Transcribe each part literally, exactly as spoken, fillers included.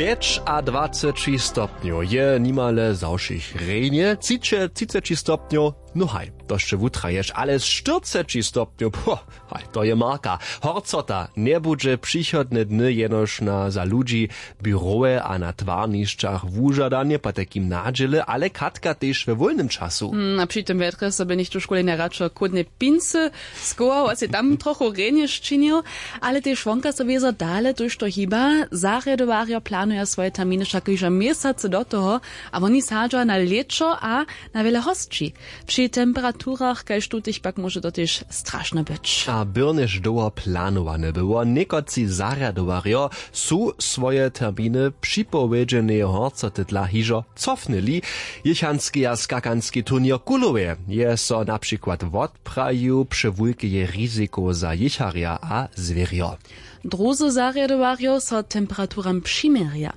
Pjećadwaceći stopnjow je nimale za wšěch rjenje, třiceći stopnjow, no haj, to sće wutraješ, ale štyrceći stopnjow, po, haj, to je marka. Horcota njebudźe přichodne dny jenož na za ludźi, běrowe a na twarnišćach wužadanje potajkim nadźěle, ale katka tež we wólnym času. Hmm, a při tym wjetrje so by něchtó škule najradšo chłódne pincy skował a sej tam trochu rjenje sčinił. Ale tež wonka so wězo dale tójšto hiba. Zarjadowarjo planuja swoje terminy wšak hižo měsacy do toho, a woni sadźa na lěćo a na wjele hosći. Při temperaturach kaž tutych pak móže to tež strašne być. A byrnjež dołho planowane było, někotři zarjadowarjo su swoje terminy připowědźeneje horcoty dla hižo cofnyli. Jěchanskeja skakanski turněr w kulowej je so na přikład wotprajił přewulkeje rizikow za jěcharja a zwěrjo. Druzy zarjadowarjo so temperaturam přiměrja.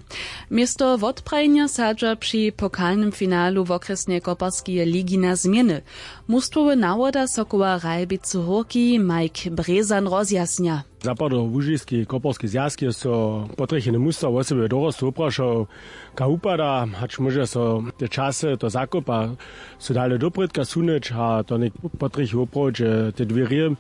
Město wotprajenja sadźa při pokalnym finalu wokrjesneje koparskeje ligi na změny. Mustwowy nawoda sokoła ralbicy hórki mike brězan rozjasnja. Zapadołužiski koporski zwjazk je so potrjecheny musta wosebje dorostu woprašał, kaž wupada, hač móže so te časy to zakopa so dale doprědka sunyć a to něk potrjechi woprawdźe te dwěrje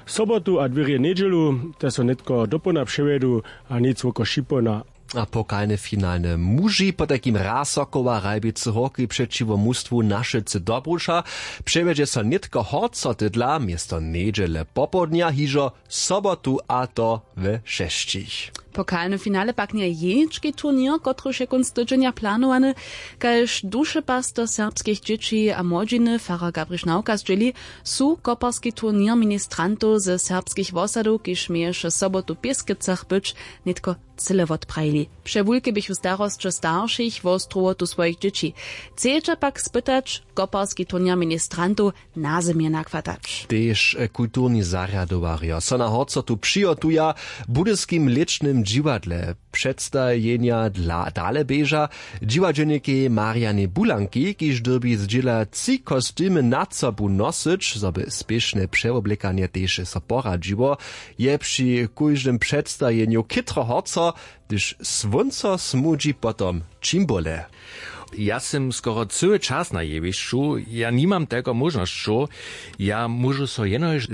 sobotu a dwěrje njedźelu, te so nětko dopołdna přewjedu a nic woko šipołdna. A pokalne finalne muži potajkim raz sokoła ralbicy hórki přećiwo mustwu našycy dobruša přewjedźe so nětko horcotydla město njedźele popołdnja hižo sobotu a to we šesćich. Pokalny finale pak njeje jenički turněr kotryž je kónc tydźenja planowany. Kaž dušepaster serbskich dźěći a młodźiny farar gabriš nawka zdźěli, su koparski turněr ministrantow ze serbskich wosadow kiž měješe sobotu w pěskecach być, nětko cyle wotprajili. Přewulke běchu starosće staršich wo strowotu swojich dźěći. Chcedźa pak spytać koparski turněr ministrantow nazymje nachwatać. Tež kulturni zarjadowarjo so na horcotu přihotuja. W budyskim lěčnym dźiwadle předstajenja dla dale běža dźiwadźelnikej marianej bulanki kiž dyrbi zdźěla tři kostymy nad sobu nosyć zo by spěšne přewoblekanje tež so poradźiło. Je při kóždym předstajenju chětro horco, hdyž słónco smudźi potom, čim bóle. Ja sym skoro cyły čas na jewišću. Ja nimam telko móžnosćow. Ja móžu so jenož